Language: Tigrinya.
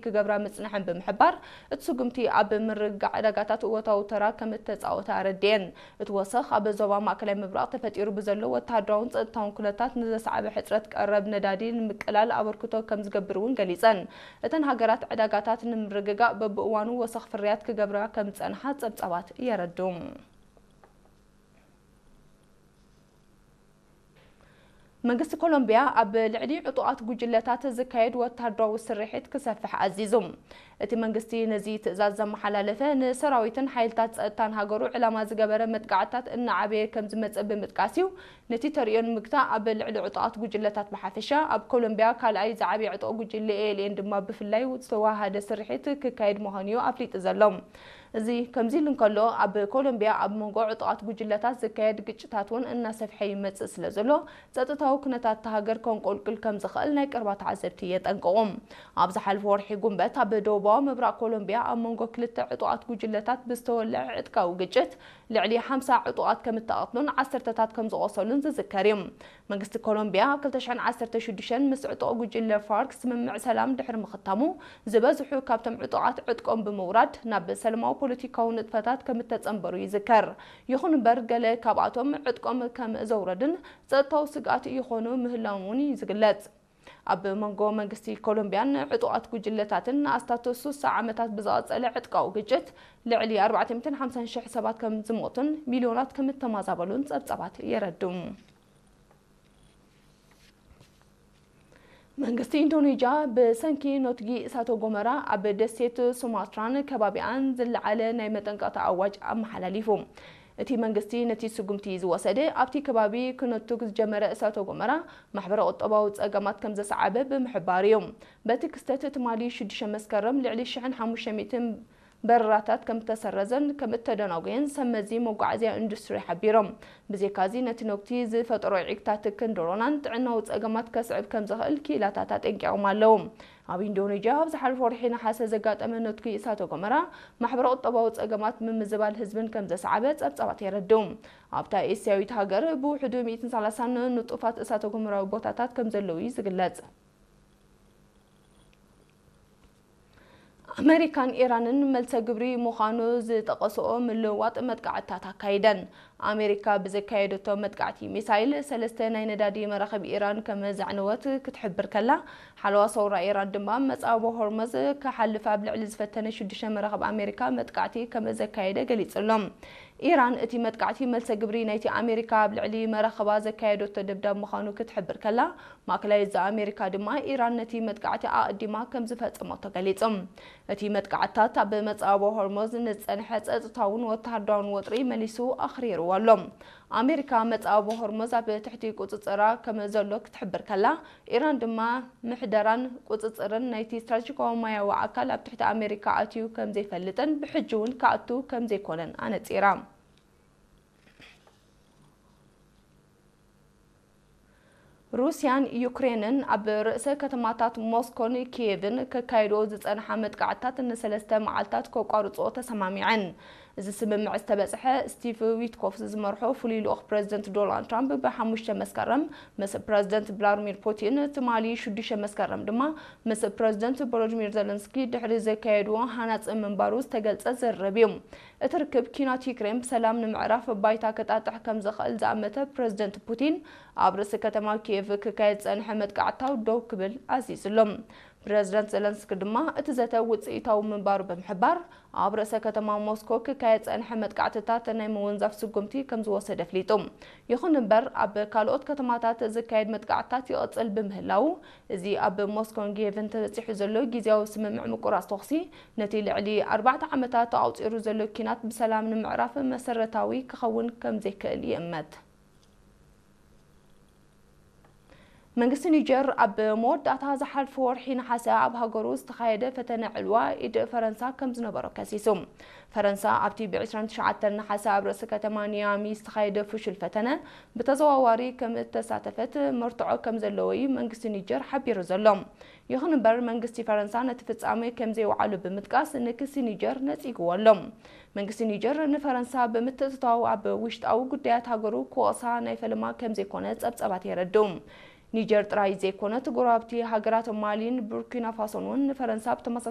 ክገብራ ምጽንሐን ብምሕባር፣ እቲ ስጉምቲ ኣብ ምርግጋዕ ዕዳጋታት እወታዊ ተራ ከም እተጻወተ ኣረዲኤን። እቲ ወሰኽ ኣብ ዞባ ማእከላይ ምብራቕ ተፈጢሩ ብዘሎ ወተሃደራውን ጸጥታውን ኩነታት ንዘስዓበ ሕጽረት ቀረብ ነዳዲ ንምቅላል ኣበርክቶ ከም ዝገብር እውን ገሊጸን። እተን ሃገራት ዕዳጋታት ንምርግጋእ በብእዋኑ ወሰኽ ፍርያት ክገብራ ከም ዝጸንሓ ጸብጻባት የረድኡ። መንግስቲ ኮሎምቢያ ኣብ ልዕሊ ዕጡቓት ጉጅለታት ዝካየድ ወታደራዊ ስርሒት ክሰፍሕ ኣዚዙ። እቲ መንግስቲ ነዚ ትእዛዝ ዘመሓላለፈ፣ ንሰራዊትን ሓይልታት ጸጥታን ሃገሩ ዕላማ ዝገበረ መጥቃዕትታት እናዓበየ ከም ዝመጽእ ብምጥቃስ እዩ። ነቲ ተርእዮ ንምግታእ፣ ኣብ ልዕሊ ዕጡቓት ጉጅለታት ብሓፈሻ፣ ኣብ ኮሎምቢያ ካልኣይ ዝዓበየ ዕጡቕ ጉጅለ ኤ ኤል ኤን ድማ ብፍላይ ዝተዋሃደ ስርሒት ክካየድ ምዃኑ እዩ ኣፍሊጡ ዘሎ። እዚ ከምዚ ኢሉ እንከሎ፣ ኣብ ኮሎምቢያ ኣብ መንጎ ዕጡቓት ጉጅለታት ዝካየድ ግጭታት እውን እናሰፍሐ ይመጽእ ስለ ዘሎ፣ ጸጥታዊ ኩነታት እታ ሃገር ከንቆልቁል ከም ዝኽእል ናይ ቀረባ ተዓዘብቲ የጠንቅቑ። ኣብ ዝሓለፈ ወርሒ ጉንበት፣ ኣብ ደቡባዊ ምብራቕ ኮሎምቢያ ኣብ መንጎ ክልተ ዕጡቓት ጉጅለታት ብዝተወልዐ ዕጥቃዊ ግጭት፣ ልዕሊ ሓምሳ ዕጡቓት ከም እተቐትሉን ዓሰርተታት ከም ዝቖሰሉን ዝዝከር እዩ። መንግስቲ ኮሎምቢያ፣ ኣብ ክልተ ሽሕን ዓሰርተ ሽዱሽተን ምስ ዕጡቕ ጉጅለ ፋርክ ስምምዕ ሰላም ድሕሪ ምኽታሙ፣ ዝበዝሑ ካብቶም ዕጡቓት ዕጥቆም ብምውራድ፣ ናብ ሰላማዊ ፖለቲካዊ ንጥፈታት ከም እተጸንበሩ ይዝከር። ይኹን እምበር፣ ገለ ካብኣቶም ዕጥቆም ከም ዘውረዱን ጸጥታዊ ስግኣት ይኾኑ ምህላዎም እውን እዩ ዝግለጽ። ኣብ መንጎ መንግስቲ ኮሎምቢያን ዕጡቓት ጉጅለታትን ንኣስታቱ ስሳ ዓመታት ብዝቐጸለ ዕጥቃዊ ግጭት፣ ልዕሊ ኣርባዕተ ሚእትን ሓምሳን ሽሕ ሰባት ከም ዝሞቱን ሚልዮናት ከም እተማዛበሉን ጸብጻባት የረድኡ። መንግስቲ ኢንዶኔዥያ ብሰንኪ ኖትጊ እሳተ ጎመራ ኣብ ደሴት ሱማትራን ከባቢኣን ዝለዓለ ናይ መጠንቀቕታ ኣዋጅ ኣመሓላሊፉ። እቲ መንግስቲ ነቲ ስጉምቲ ዝወሰደ፣ ኣብቲ ከባቢ ክነቱግ ዝጀመረ እሳተ ጎመራ ማሕበረ ቁጠባዊ ጸገማት ከም ዘስዓበ ብምሕባር እዩ። በቲ ክስተት፣ ትማሊ ሽዱሽተ መስከረም ልዕሊ ሽሕን ሓሙሽተ ሚእትን በረራታት ከም እተሰረዘን ከም እተደናጎየን ሰብ መዚ መጓዓዝያ ኢንዱስትሪ ሓቢሮም። ብዘይካዚ፣ ነቲ ነጉቲ ዝፈጠሮ ዒግታት ክንዲ ሮናን ጥዕናዊ ጸገማት ከስዕብ ከም ዝኽእል ክኢላታት ኣጠንቂቖም ኣለዉ። ኣብ ኢንዶኔዥያ ኣብ ዝሓለፈ ወርሒ ነሓሰ ዘጋጠመ ነትጒ እሳተ ጎመራ፣ ማሕበረ ቁጠባዊ ጸገማት፣ ምምዝባል ህዝብን ከም ዘስዓበ ጸብጻባት የረድኡ። ኣብታ ኤስያዊት ሃገር ብውሕዱ ሚእትን ሰላሳን ንጡፋት እሳተ ጎመራዊ ቦታታት ከም ዘለዉ እዩ ዝግለጽ። ኣመሪካን ኢራንን መልሰ ግብሪ ምዃኑ ዝጠቐስኦ ምልውዋጥ መጥቃዕትታት ኣካይደን። ኣመሪካ ብዘካየደቶ መጥቃዕቲ ሚሳይል፣ ሰለስተ ናይ ነዳዲ መራኽብ ኢራን ከም ዘዕነወት ክትሕብር ከላ፣ ሓለዋ ሰውራ ኢራን ድማ መጻወ ሆርሙዝ ክሓልፍ ኣብ ልዕሊ ዝፈተነ ሽዱሽተ መራኽብ ኣመሪካ መጥቃዕቲ ከም ዘካየደ ገሊጹ ኣሎ። ኢራን እቲ መጥቃዕቲ መልሰ ግብሪ ናይቲ ኣመሪካ ኣብ ልዕሊ መራኽባ ዘካየደቶ ደብዳብ ምዃኑ ክትሕብር ከላ፣ ማእከላይ እዝ ኣመሪካ ድማ ኢራን ነቲ መጥቃዕቲ ኣቐዲማ ከም ዝፈጸመቶ ገሊጹ። እቲ መጥቃዕትታት ኣብ መጻወ ሆርሙዝ ንዝጸንሐ ጸጥታውን ወተሃደራውን ወጥሪ መሊሱ ኣኽሪርዎ ኣሎ። ኣመሪካ መጻወ ሆርሙዝ ኣብ ትሕቲ ቁጽጽራ ከም ዘሎ ክትሕብር ከላ፣ ኢራን ድማ ምሕደራን ቁጽጽርን ናይቲ ስትራቴጂካዊ ማያዊ ኣካል ኣብ ትሕቲ ኣመሪካ ኣትዩ ከም ዘይፈልጥን ብሕጂ እውን ክኣቱ ከም ዘይኮነን ኣነጺራ። ሩስያን ዩክሬንን ኣብ ርእሰ ከተማታት ሞስኮን ኪየቭን ከካይድኦ ዝጸንሓ መጥቃዕትታት ንሰለስተ መዓልታት ከቋርጽኦ ተሰማሚዐን። እዚ ስምምዕ ዝተበጽሐ፣ ስቲቭ ዊትኮፍ ዝመርሖ ፍሉይ ልኡኽ ፕረዚደንት ዶናልድ ትራምፕ ብሓሙሽተ መስከረም ምስ ፕረዚደንት ቭላድሚር ፑቲን፣ ትማሊ ሽዱሽተ መስከረም ድማ ምስ ፕረዚደንት ቮሎዲሚር ዘለንስኪ ድሕሪ ዘካየድዎ ሃናጺ ምንባሩ ዝተገልጸ ዝርርብ እዩ። እቲ ርክብ፣ ኲናት ዩክሬን ብሰላም ንምዕራፍ ባይታ ክጣጥሕ ከም ዝኽእል ዝኣመተ ፕረዚደንት ፑቲን፣ ኣብ ርእሲ ከተማ ኪየቭ ክካየድ ዝጸንሐ መጥቃዕትታት ደው ክብል ኣዚዙ ኣሎ። ፕረዚደንት ዘለንስኪ ድማ፣ እቲ ዘተ ውጽኢታዊ ምንባሩ ብምሕባር፣ ኣብ ርእሰ ከተማ ሞስኮ ክካየድ ዝጸንሐ መጥቃዕትታት ናይ ምውንዛፍ ስጉምቲ ከም ዝወሰደ ኣፍሊጡ። ይኹን እምበር፣ ኣብ ካልኦት ከተማታት ዝካየድ መጥቃዕትታት ይቕጽል ብምህላዉ፣ እዚ ኣብ ሞስኮን ኪየቭን ተበጺሑ ዘሎ ግዝያዊ ስምምዕ ምቁራጽ ተኹሲ፣ ነቲ ልዕሊ ኣርባዕተ ዓመታት ተቋጺሩ ዘሎ ኲናት ብሰላም ንምዕራፍ መሰረታዊ ክኸውን ከም ዘይክእል ይእመት። መንግስቲ ኒጀር ኣብ መወዳእታ ዝሓለፈ ወርሒ ነሓሰ ኣብ ሃገሩ ዝተኻየደ ፈተነ ዕልዋ ኢድ ፈረንሳ ከም ዝነበሮ ከሲሱ። ፈረንሳ ኣብቲ ብ ዕስራን ትሽዓተን ነሓሰ ኣብ ርእሲ ከተማ ኒያሚ ዝተኻየደ ፍሹል ፈተነ ብተዘዋዋሪ ከም እተሳተፈት መርትዖ ከም ዘለዎ እዩ መንግስቲ ኒጀር ሓቢሩ ዘሎ። ይኹን እምበር፣ መንግስቲ ፈረንሳ ነቲ ፍጻመ ከም ዘይወዓሎ ብምጥቃስ፣ ንክሲ ኒጀር ነጺግዎ ኣሎ። መንግስቲ ኒጀር ንፈረንሳ ብምትእትታው ኣብ ውሽጣዊ ጉዳያት ሃገሩ ክወቕሳ ናይ ፈለማ ከም ዘይኮነ ጸብጻባት የረድኡ። ኒጀር ጥራይ ዘይኮነት፣ ጎረባብቲ ሃገራት ማሊን ቡርኪና ፋሶን እውን ንፈረንሳ ብተመሳሳሊ